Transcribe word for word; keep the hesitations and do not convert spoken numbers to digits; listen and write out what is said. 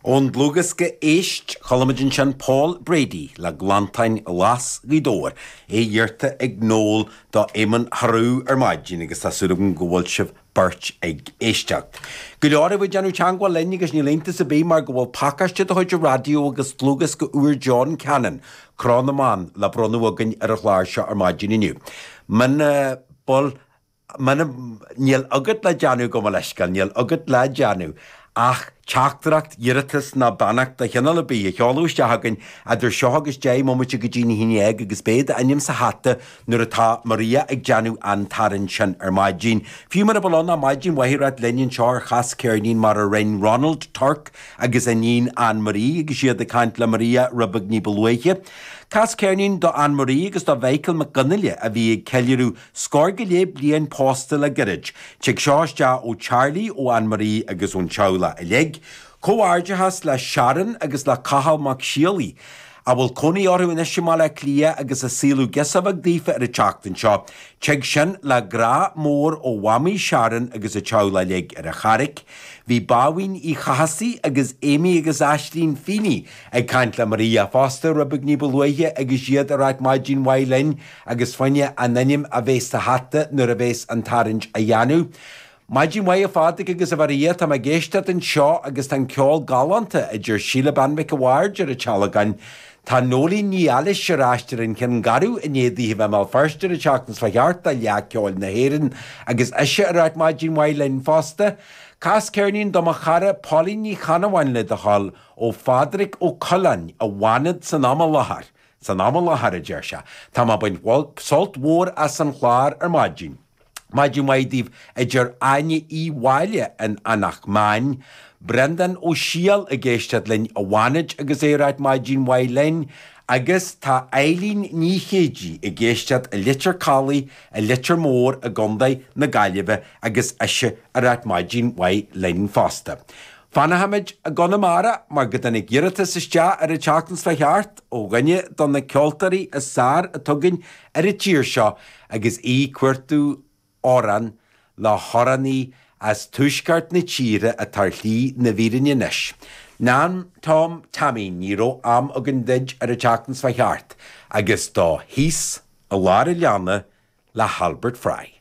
Ón dlúthdhiosca Éist, chuala muid ansin Paul Brady le Glantáin Ghlas Ghaoth Dobhair, é iarrta ag Noel do Éamonn Harú ar maidin agus tá súil agam go bhfuil sibh beirt ag éisteacht. Go leor ag déanamh teagmháil linn agus níl iontas ar bith mar go bhfuil pacáiste de chuid an raidió agus dlúthdhiosca úr John Cannon, Cró na mBan le bronnadh againn ar an chlár seo ar maidin inniu. Muna bhfuil Muna níl agat le déanamh gabh mo leithscéal, níl agat le déanamh ach teachtaireacht, iarratas ná beannacht de chineál ar bith a sheoladh isteach chugainn idir seo agus deich mbomaite go dtí a haon déag agus beidh d'ainm sa hata nuair atá Maria ag déanamh an tarraingt sin ar maidin. Fiú mura bhfuil ann ach maidin mhaith a ráit linn anseo ar Chas Ceirnín mar a rinne Ronald Turk agus a iníon Anne Marie agus iad ag caint le Maria rud beag ní ba luaithe. Cas ceirnín do Anne Marie agus do Mhichael Mac Fhionnghaile a bhí ag ceiliúradh scór go leith bliain pósta le gairid. Tig seo isteach ó Charlie, ó Anne Marie agus ón teaghlach uilig. Comhghairdeachas le Sharon agus le Cathal Mac Séalaigh, a bhfuil cónaí orthu anois i mBaile Átha Cliath agus a saoladh girseach bheag daofa ar an tseachtain seo. Tig sin le grá mór ó mhamaí Sharon agus a teaghlach uilig ar an Charraic. Bhí Bábhín Uí Chathasaigh agus Amy agus Aislín Feeney ag caint le Maria fosta rud beag ní ba luaithe agus iad ag ráit maidin mhaith linn agus fá choinne a n-ainm a bheith sa hata nuair a bheas an tarraingt á dhéanamh. Maidin mhaith a Phádraig agus a Mharia, tá mé ag éisteacht anseo agus tá an ceol galánta, a deir Síle Bean Mhic a' Bhaird ar an Tealgán. Tá Nóilín Ní Ailís ar ais ar an Chionn Garbh i ndiaidh daoithe bheith i mBéal Feirste an tseachtain seo chuaigh thart do Fhleadh Ceoil na hÉireann agus ise ag ráit maidin mhaith linn fosta. Cas ceirnín do mo chara Pauline Ní Chanabháin le do thoil ó Phádraig Ó Coileáin i bhFánad san am i láthair. San am i láthair, a deir sé. Tá mé ag baint sult mhór as an chlár ar maidin. Maidin mhaith daoibh, a deir Áine Uí Mháille in Eanach Meáin. Breandán Ó Siadhail ag éisteacht linn i bhFánaid agus é ag ráit maidin mhaith linn. Agus tá Eileen Ní Chéidigh ag éisteacht i Leitir Calaidh i Leitir Móir i gContae na Gaillimhe agus ise ag ráit maidin mhaith linn fosta. Fanfaimid i gConamara mar go dtáinig iarratas isteach ar an tseachtain seo chuaigh thart ó dhuine de na ceoltóirí is fearr atá againn ar an tír seo agus í ag cuartú amhrán le hamhránaí as tuaisceart na tíre atá ar shlí na bhfírinne anois. Nan Tom Taimín, ní raibh am againn duit ar an tseachtain seo chuaigh thart agus do Thíos i Lár an Leanna le hAlbert Fry.